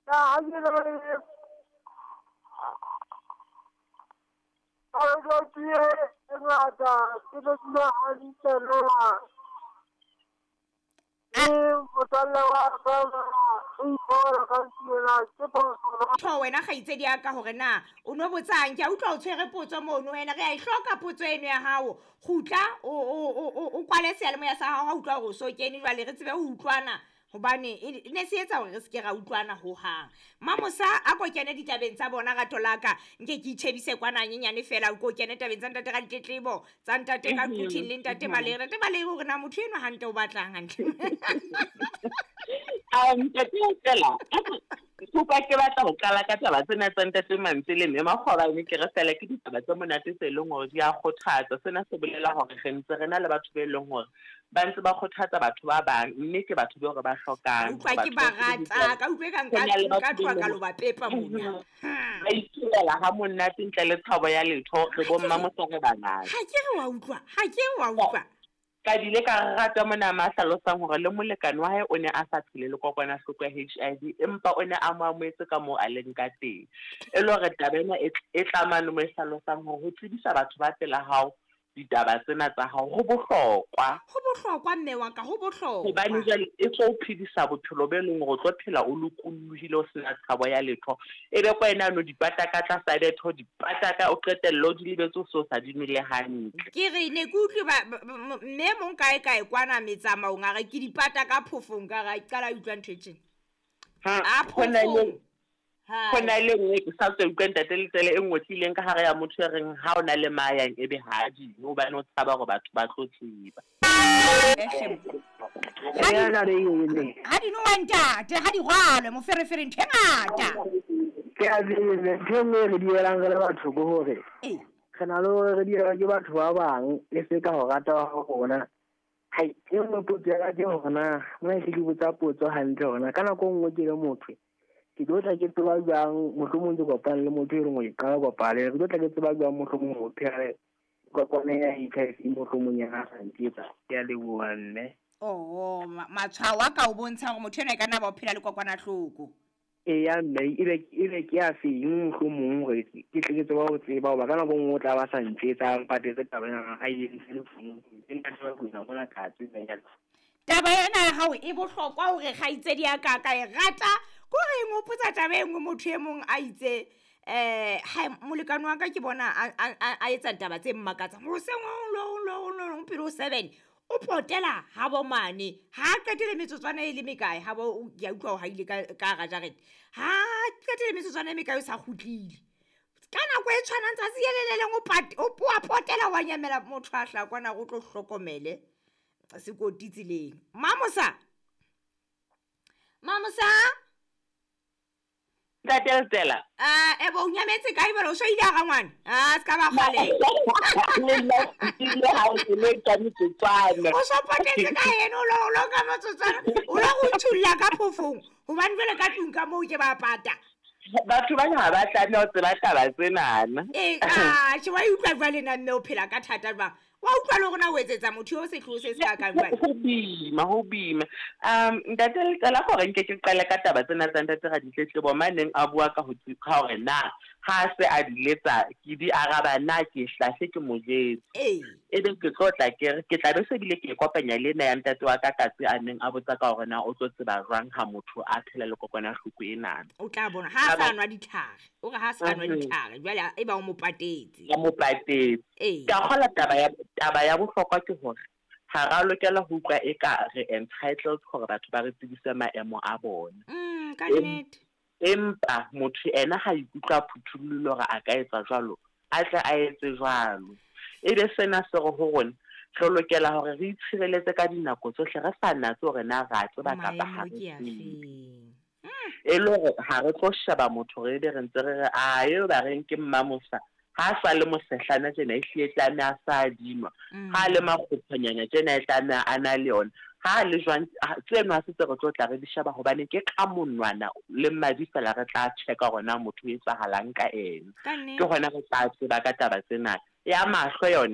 Na ha ke na le e ngata ke tlo dula hantle na? Le motswalle wa ka na o ipona ka ena ke phoso na? Tho wena kgaitsedi ya ka hore na o no botsang, ke a utlwa o tshwere potso mono wena, re a e hloka potso eno ya hao. Kgutla o kwale seyalemoya sa hao ha utlwa hore o so kene jwale re tsebe ho utlwana, hobane e ne se etsa hore re seke ra utlwana hohang. Mamosa a ko kene ditabeng tsa bona rato la ka, nke ke itjhebise kwana hanyenyane fela, o ko kene tabeng tsa ntate Raditlebo, tsa ntate ka Quthing le ntate Malere. Ntate Malere hore na motho enwa hantle o batlang hantle. Ntate fela, kopa ke batla ho qala ka taba tsena tsa ntate Mantswe le mme Makgobane, ke re fela ke ditaba tse monate tse leng hore di a kgothatsa. Sena se bolela hore re ntse re na le batho be leng hore ba ntse ba kgothatsa batho ba bang, mme ke batho be hore ba hlokang. Utlwa ke ba rata, ka utlwe ka nka tloha ka lo ba pepa mona. Ba itulela ha monate ntle le tshabo ya letho, re bo mmamosa re bangata. Ha ke re wa utlwa, ha ke re wa utlwa. Ka bile ka rata mona ma hlalosang hore le molekane wa hae o ne a sa phele le kokwanahloko ya HIV, empa o ne a mo amohetse ka moo a leng ka teng. E le hore taba ena e tlamane mo e hlalosang hore ho tsebisa batho ba pela hao ditaba tsena tsa hao ho bohlokwa. Ho bohlokwa mme wa ka, ho bohlokwa. Hobane jwale e tlo phedisa bophelo bo leng hore o tlo phela o lokolohile, o sena tshabo ya letho. E be ko wena no dipata ka tlasa bethe, dipata ka o qetelle o di lebetse o so sa di nwele hantle. Ke re ne ke utlwe ba mme mong kae kae kwana metsamaong a re ke dipata ka phofong, ka ra qala utlwa ntho e tjena. A phofong. Ho na le nngwe ke sa tswa utlwa ntate Letsele e nngwe tlileng ka hare ya motho e reng ha o na le mayang ebe ha di, hobane o tshaba hore batho ba tlo tseba. Ha di nowa ntate, ha di rwalwe moferefere ntho e ngata. Ke a tsebe ntho e nngwe re di elang re le batho ke hore re na le hore re di elwa ke batho ba bang e se ka ho rata wa rona. Hai, e nngwe potso ya ka ke hore na mona ke botsa potso hantle hore na ka nako e nngwe ke le motho ke tlo tla ke tseba jwang mohlomong ke kopane le motho e leng hore ke qala kopane, ke tlo tla ke tseba jwang mohlomong ho phela le kopane ya HIV mohlomong ya sa ntjetsa. Ke a leboha mme. Oh, matshwao a ka o bontsha hore motho enwa e ka nna ba o phela le kokwanahloko. Eya mme, ebe ke a feng mohlomong hore ke tle ke tseba ho tseba hoba ka nako e nngwe o tla ba sa ntjetsa, a mpatetse taba ena a e entse le founung. Ke nka tseba ho ina mona ka tseba ya. Taba ena ya hao e bohlokwa hore kgaitsedi ya ka ka e rata, ke hore e nghopotsa taba e nngwe motho e mong a itse, ha molekane wa ka ke bona a etsa taba tse mmakatsang. Hoseng ho pele ho 7, o potela ha bo mane, ha qetele metsotswana e le mekae, ha bo, ke a utlwa hore ha ile ka hara jarete. Ha qetele metsotswana e mekae o sa kgutlile. Ka nako e tshwanang tsatsi le le leng o a potela wa nyamela motho a hlaha kwana hore o tlo hlokomele sekoti tseleng. Mamosa? Mamosa? Ntate Letsela. Ebo o nyametse kae jwale? O so ile hara ngwana? Ah, se ka ba kgale. Le nna ke ile ha o le ka metsotswana. O so potetse ka eno, o lo ka metsotswana. O lo go nthulla ka phofong. Hobane jwale ka tlung ka moo ke ba pata. Batho bana ha ba tlameha ho tseba taba tsenana. Ee, tjhe, wa utlwa jwale na mme o phela ka thata jwang? Wa utlwa le hore na o etsetsa motho eo sehloho se se ka kang jwale? Ho boima, ho boima. Ntate Letsela, hore nke ke qale ka taba tsena tsa ntate Raditletlebo maneng a bua ka ho ka hore na ha se a di letsa ke di araba na ke hlahle ke mo jetse. Ebe ke tlo tla ke re ke tla be se bile ke kopanya le ena ya ntate wa ka Katse a neng a botsa ka hore na o tlo tseba jwang ha motho a phela le kokwanahloko enana. O tla bona ha a sa nwa ditlhare, o re ha a sa nwa ditlhare jwale e ba o mo patetse. O mo patetse. Ka kgola taba ya bohlokwa ke hore ha ra lokela ho utlwa eka re entitled hore batho ba re tsebise maemo a bona. Ka nnete. Empa motho ena ha ikutlwa phuthullile hore a ka etsa jwalo, a tle a etse jwalo. Ebe sena se re ho rona re lokela hore re itshireletse ka dinako tsohle, re sa natse hore na ra tseba kapa ha re tsebe. E le hore ha re tlo sheba motho re be re ntse re re, a eo ba reng ke Mmamosa, ha sa le mosehlana tjena e hlile tlameha a sa adima, ha le makgophonyana tjena e tlameha a na le yona, ha le jwang tseno ha se tse re tlo tla re di sheba hobane ke ka monwana le madi fela re tla checka hore na motho o etsahalang ka ena. Ke hona re tla tseba ka taba tsena. Ya mahlo yona